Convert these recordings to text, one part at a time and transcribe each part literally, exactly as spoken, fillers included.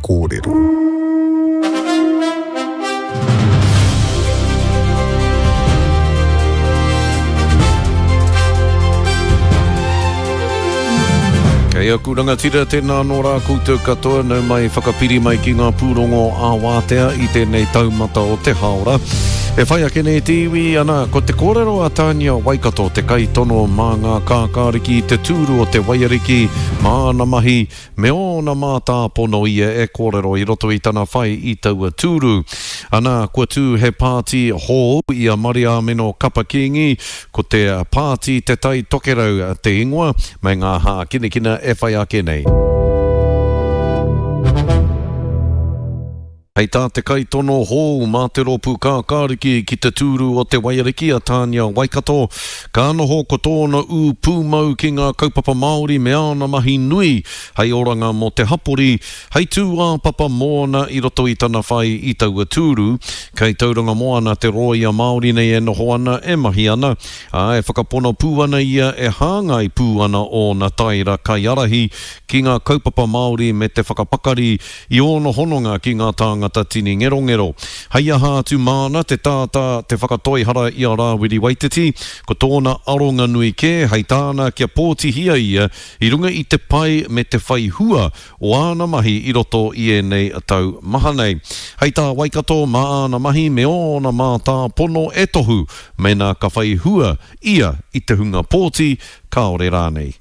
kōrero. Kei aku rangatira, tēnā anō rā koutou katoa, nau mai whakapiri mai ki ngā pūrongo ā-wātea i tēnei taumata o te hāora. E whai ake nei te iwi, ana, ko te kōrero a Tania Waikato, te kaitono mā ngā kākāriki i te tūru o te Waiariki, mā ana mahi, me ōna mātāpono ia e kōrero i roto i tana whai i taua tūru. Ana, kua tū he pāti hou i a Mariāmeno Kapa Kīngi, ko te Pāti Te Tai Tokerau te ingoa, me ngā hākinakina e whai ake nei. Hei tā te kaitono hou mā te rōpū kākāriki ki te tūru o te Waiariki a Tania Waikato, ka noho ko tōna ū pūmau ki ngā kaupapa Māori me āna mahi nui hei oranga mō te hapori, hei tūāpapa mōna i roto i tana whai i taua tūru. Kei Tauranga Moana te rōia Māori nei e noho ana, e mahi ana, ā, e whakapono pū ana ia e hāngai pū ana ōna taera kaiārahi ki ngā kaupapa Māori me te whakapakari i ōna hononga ki ngā tāngata tini ngerongero. Hei aha atu māna te tātā te whakatoihara i a Rāwiri Waititi, ko tōna aronga nui kē hei tāna kia pōtihia ia i runga i te pai me te whai hua o āna mahi i roto i ēnei tau maha nei. Hei tā Waikato, mā āna mahi me ōna mātāpono e tohu mēnā ka whai hua ia i te hunga pōti, kāore rānei.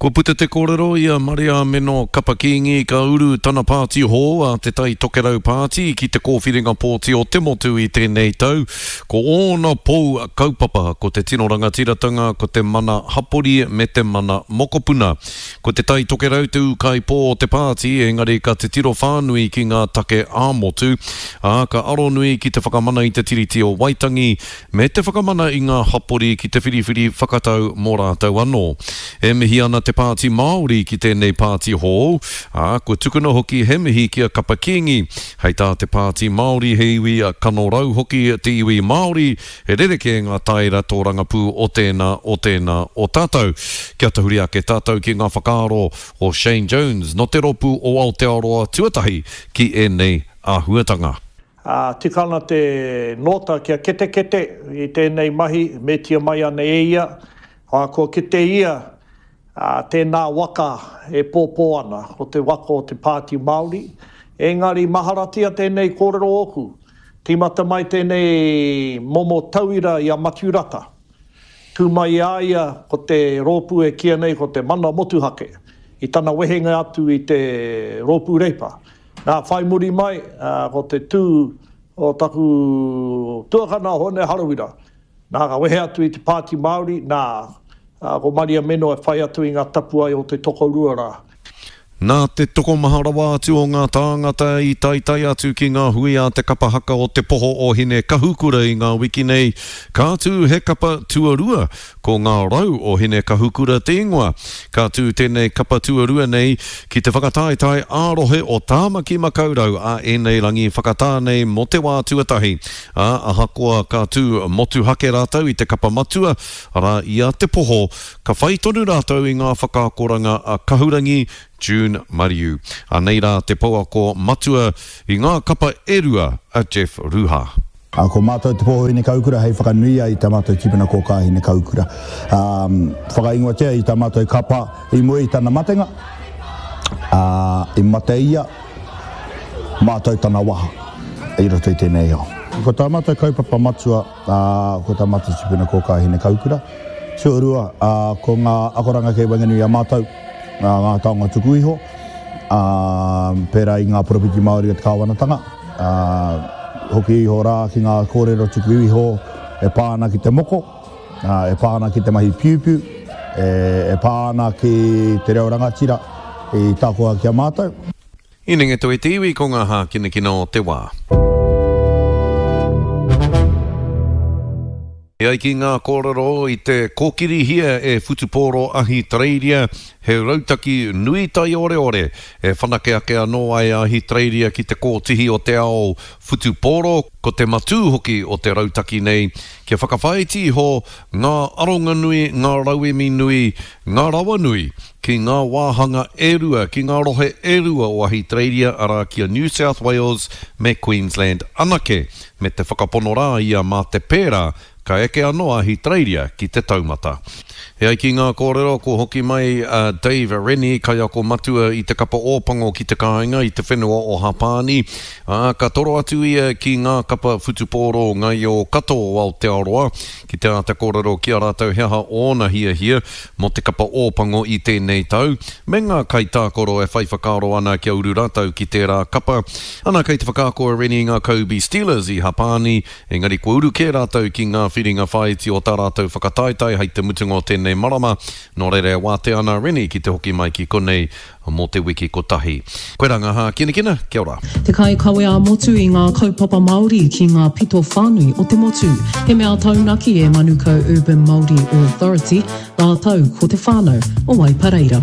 Kua puta te kōrero i a Mariāmeno Kapa Kīngi ka uru tana pāti hou a Te Tai Tokerau Pāti ki te kōwhiringa pōti o te motu i tēnei tau. Ko ōna pou kaupapa ko te tino rangatiratanga, ko te mana hapori me te mana mokopuna. Ko Te Tai Tokerau te ūkaipō o te pāti, engari ka titiro whānui ki ngā take ā-motu, ā, ka aronui ki te whakamana i te Tiriti o Waitangi me te whakamana i ngā hapori ki te whiriwhiri whakatau mō rātou anō. E mihi ana te Pāti Māori ki tēnei pāti hou, ā, kua tukuna hoki he mihi ki a Kapa Kīngi. Hei tā te Pāti Māori he iwi kanorau hoki te iwi Māori, he rerekē ngā taera tōrangapū o tēnā, o tēnā o tātou. Kia tahuri ake tātou ki ngā whakaaro o Shane Jones nō te rōpū o Aotearoa Tuatahi ki ēnei āhuatanga. Ā, tika ana te nōta kia ketekete i tēnei mahi, metia mai ana e ia, ā, kua kite ia, ā, tēnā waka e pōpō ana, ko te waka o te Pāti Māori. Engari maharatia tēnei kōrero ōku, tīmata mai tēnei momo tauira i a Matiu Rata. Tū mai i a ia ko te rōpū e kīia nei ko te Mana Motuhake, i tana wehenga atu i te Rōpū Reipa. Nā, whai muri mai, ko te tū o taku tuakana Hone Harawira. Nā, ka wehe atu i te Pāti Māori, nā, ko Maria Meno e whai atu i ngā tapuae o te tokorua rā. Nā te tokomaha rawa atu o ngā tāngata i taetae atu ki ngā hui a te kapa haka o Te Poho o Hine Kahukura i ngā wiki nei, ka tū he kapa tuarua, ko Ngā Rau o Hine Kahukura te ingoa. Ka tū tēnei kapa tuarua nei ki te whakataetae ā-rohe o Tāmaki Makaurau a ēnei rangi whakatā nei mō te wā tuatahi, ā, ahakoa ka tū motuhake rātou i te kapa matua, arā, i a Te Poho, ka whai tonu rātou i ngā whakaakoranga a Kahurangi June Mariu. Anei rā te pouako matua i ngā kapa e rua a Jeff Ruha. Ā, ko mātou Te Poho Hinekaukura hei whakanuia i tā mātou tipuna kōkā Hinekaukura. Ā, whakaingoatia i tā mātou kapa i mua i tana matenga, ā, i mate ia, mātou tana waha i roto i tēnei ao. Ko tā mātou kaupapa matua, ā, ko tā mātou tipuna kōkā Hinekaukura. Tuarua, ā, ko ngā akoranga kei waenganui i a mātou, ā, ngā taonga tuku iho, ā, pērā i ngā poropiti Māori o te kāwanatanga, ā, hoki iho rā ki ngā kōrero tuku iho e pā ana ki te moko, ā, e pā ana ki te mahi piupiu, e, e pā ana ki te reo rangatira i takoha ki a mātou. I Nengetoe te iwi ko ngā hākinakina o te wā. E ai ki ngā kōrero i te kōkirihia e Whutupōro Ahitereiria, he rautaki nui taioreore e whanake ake anō ai a Ahitereiria ki te kōtihi o te ao whutupōro, ko te matū hoki o te rautaki nei kia whakawhāiti iho ngā aronga nui, ngā rauemi nui, ngā rawa nui ki ngā wāhanga e rua, ki ngā rohe e rua o Ahitereiria, arā ki a New South Wales me Queensland anake, me te whakapono rā ia mā te pērā ka eke anō a Ahitereiria ki te taumata. E ai ki ngā kōrero, kua hoki mai a Dave Rennie, kaiako matua i te kapa Ōpango ki te kāinga i te whenua o Hapāni, ā, ka toro atu ia ki ngā kapa whutupōro ngaio katoa o Aotearoa ki te āta kōrero ki a rātou he aha ōna hiahia mō te kapa Ōpango i tēnei tau, me ngā kaitākaro e whai whakaaro ana kia uru rātou ki tērā kapa. Ana kei te whakaako a Rennie i ngā Kobe Steelers i Hapāni, engari kua uru kē rātou ki ngā whiringa whāiti o tā rātou whakataetae hei te mutunga o tēnei marama, nō reira e wātea ana a Rennie ki te hoki mai ki konei mō te wiki kotahi. Koirā ngā hākinakina, kia ora. Te kaikawe ā-motu i ngā kaupapa Māori ki ngā pito whānui o te motu. He mea taunaki e Manukau Urban Māori Authority rātou ko te whānau o Waipareira.